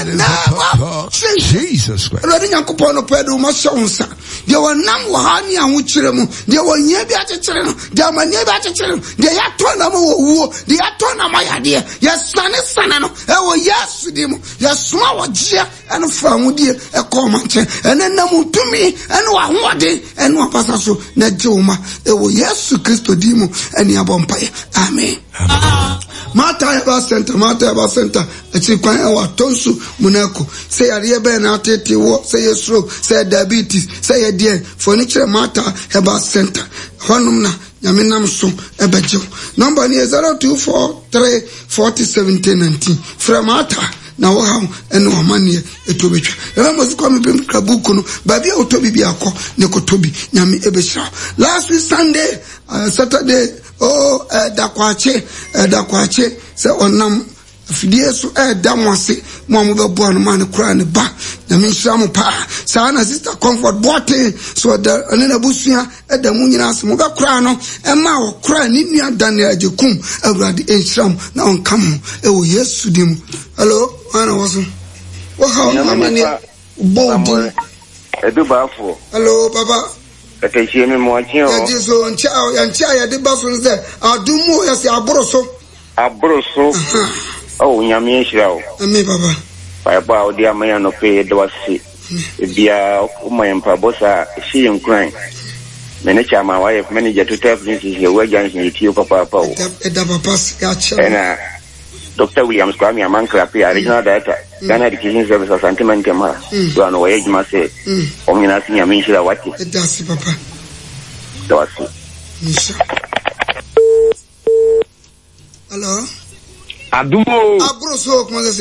the name of Jesus Christ. Awurade Nyankopɔn no pɛ de wɔn ahyɛ wo nsa. Deɛ wɔnam wɔ ha ne ahokyerɛ mu, deɛ wɔhia bi akyekyere no, deɛ amanneɛ bi akyekyere no, deɛ yɛatɔ nam wɔ wuo, deɛ yɛatɔ nam ayadeɛ, yɛsane sane no ɛwɔ Yesu din mu. Yɛsoma wɔgyeɛ ɛne fa ahodie ɛkɔ ɔma nkyɛn. Ɛne nam tumi ɛne w'ahoɔden ɛne w'abasa so na gye wo ma ɛwɔ Yesu Kristo din mu ɛne abɔ mpaeɛ. Amen. Martha Herbal Center, Martha Herbal Center, akyiri kwan ɛwɔ Atonsu Munako. Sɛ yareɛ bɛn na atete wɔ, sɛ yɛ stroke, sɛ yɛ diabetes, sɛ yɛ deɛn, fo ani kyerɛ Martha Herbal Center. Hɔnom na Nyame nam so ɛbɛgye wo. Nɔmba no yɛ 0243 40 70 19. Frɛ Martha na wo haw ɛne w'amanneɛ ɛto bɛtwa. Nana Mose Kwame Bem kura buku no, baabi a wotɔ bi bi akɔ ne kɔtɔ bi. Nyame ɛbɛhyira wo. Last week Sunday, Saturday, Oh, ɛda kwakye, ɛda kwakye sɛ ɔnam afidie so ɛda mo ase mo a mobɛboa no ma no koraa ne ba. Nyame nhyira mo paa. Saa na Sister Comfort Boateng so ɔda ɔne n'abusua ɛda mo nyinaa ase. Mobɛkoraa no ɛma ɔkoraa ne nua Daniel Agyekum. Awurade nhyira mo na ɔnka mo ɛwɔ Yesu din mu. Hello, hwan na wɔ so? Wohaw no amaneɛ bɔ wo din. Edu baafoɔ. Hello, papa. Katakyie me moakye o. Yɛgye so nkyɛ a yɛnkyɛ a yɛde ba so no sɛ adom mu o yɛsɛ aboro so. Aboro so. Oh Nyame nhyira wo. Amen papa. Mpaebɔ a wode ama yɛn anɔpa yi yɛda wo ase. Ebiara woma yɛn mpaebɔ saa a ɛhyɛ yɛn nkuran. Me ne Chairman wayɛ manager Total Filling Station Awua Junction yɛtie wo papaapa o. Ɛda papa se yɛakyɛ. Ɛna Dɔkta Williams Kwame Amankra Appiah, Regional Director, Ghana Education Service, Asante Mantam ha, do ano wɔyɛ adwuma sɛ wɔn nyinaa se Nyame nhyira wate. Ɛda ase papa. Da wase. Nhyira. Hello. Adum o. Aburo so kuma sɛ.